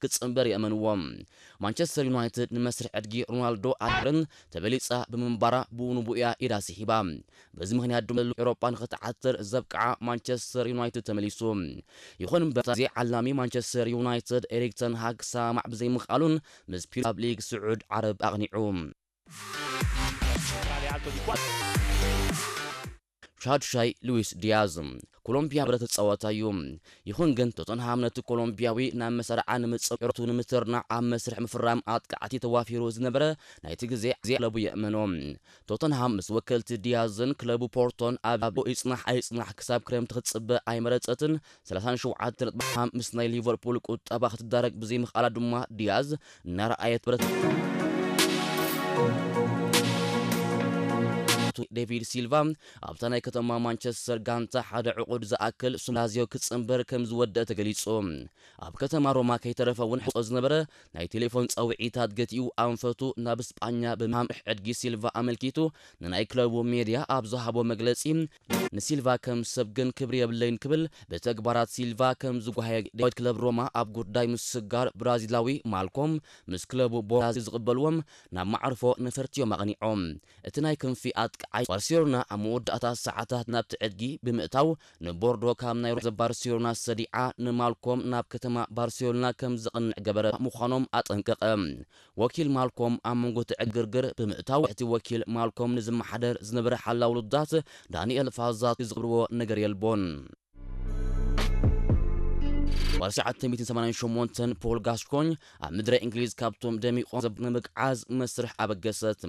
ክጽንበር የእመንዎ። ማንቸስተር ዩናይትድ ንመስርሕ ዕድጊ ሮናልዶ ኣድርን ተበሊጻ ብምንባራ ብኡ ንብኡ እያ ኢዳ ስሒባ። በዚ ምኽንያት ድማ ኤውሮጳ ንኽትዓትር ዘብቅዓ ማንቸስተር ዩናይትድ ተመሊሱ። ይኹን እምበር፣ እዚ ዓላሚ ማንቸስተር ዩናይትድ ኤሪክ ተን ሃግ ክሰማማዕ ብዘይምኽኣሉን ምስ ፒራብ ሊግ ስዑድ ዓረብ ኣቕኒዑ። ሻድሻይ ሉዊስ ዲያዝ ኮሎምቢያ ብረት ተጻዋታይ እዩ። ይኹን ግን ቶተንሃም ነቲ ኮሎምቢያዊ ናብ መሰረዓ ንምጽእ ኤሮቱ ንምትርናዕ ኣብ መስርሕ ምፍራም ኣጥቃዕቲ ተዋፊሩ ዝነበረ ናይቲ ግዜ ግዜ ክለቡ የእመኖ። ቶተንሃም ምስ ወከልቲ ዲያዝን ክለቡ ፖርቶን ኣብ ይጽናሕ ኣይጽናሕ ክሳብ ክረምቲ ክትጽበ ኣይመረጸትን። ሰላሳን ሸውዓተ ነጥቢ ሓምሳ ምስ ናይ ሊቨርፑል ቁጠባ ክትዳረግ ብዘይምኽኣላ ድማ ዲያዝ እናረኣየት ብረት ዴቪድ ሲልቫ ኣብታ ናይ ከተማ ማንቸስተር ጋንታ ሓደ ዕቑድ ዝኣክል ሱም ላዚዮ ክጽንበር ከም ዝወደአ ተገሊጹ። ኣብ ከተማ ሮማ ከይተረፈ እውን ሕቆ ዝነበረ ናይ ቴሌፎን ጸውዒታት ገቲኡ ኣንፈቱ ናብ ስጳኛ ብምሃም ዕድጊ ሲልቫ ኣመልኪቱ ንናይ ክለቡ ሜድያ ኣብ ዝሃቦ መግለጺ፣ ንሲልቫ ከም ሰብ ግን ክብሪ የብለይን ክብል ብተግባራት ሲልቫ ከም ዝጓሃየ ዳዊት ክለብ ሮማ ኣብ ጉዳይ ምስጋር ብራዚላዊ ማልኮም ምስ ክለቡ ቦራዚ ዝቕበልዎም ናብ ማዕርፎ ነፈርቲ እዮም ኣቕኒዖም። እቲ ናይ ክንፊ ኣጥቃዓይ ባርሴሎና ኣብ መወዳእታ ሰዓታት ናብቲ ዕድጊ ብምእታው ንቦርዶ ካብ ናይ ሮማ ባርሴሎና ሰዲዓ ንማልኮም ናብ ከተማ ባርሴሎና ከም ዝቕንዕ ገበረ ምዃኖም ኣጠንቀቐ። ወኪል ማልኮም ኣብ መንጎ እቲ ዕግርግር ብምእታው እቲ ወኪል ማልኮም ንዝመሓደር ዝነበረ ሓላው ውሉዳት ዳንኤል ፋዛቲ ዝቕብርዎ ነገር የልቦን። ብ ትሽዓተ ሚእትን ሰማንያን ሸሞንተን ፖል ጋስኮኝ ኣብ ምድረ እንግሊዝ ካብቶም ደሚቖም ዘብ-፣ ንምግዓዝ መስርሕ ኣበገሰት።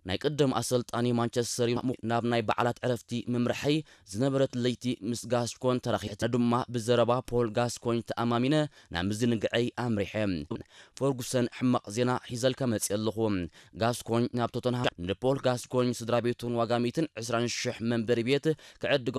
ናይ ቀደም ኣሰልጣኒ ማንቸስተር ዩናይትድ ናብ ናይ በዓላት ዕረፍቲ ምምርሐይ ዝነበረት ለይቲ ምስ ጋስኮን ተራኺበ ድማ ብዘረባ ፖል ጋስኮኝ ተኣማሚነ ናብ ምዝንግዐይ ኣምሪሐ። ፈርጉሰን ሕማቕ ዜና ሒዘልካ መጽእ ኣለኹ። ጋስኮኝ ናብ ቶተንሃም ንፖል ጋስኮኝ ስድራ ቤቱን ዋጋ ሚእትን ዕስራን ሽሕ መንበሪ ቤት ክዕድጎ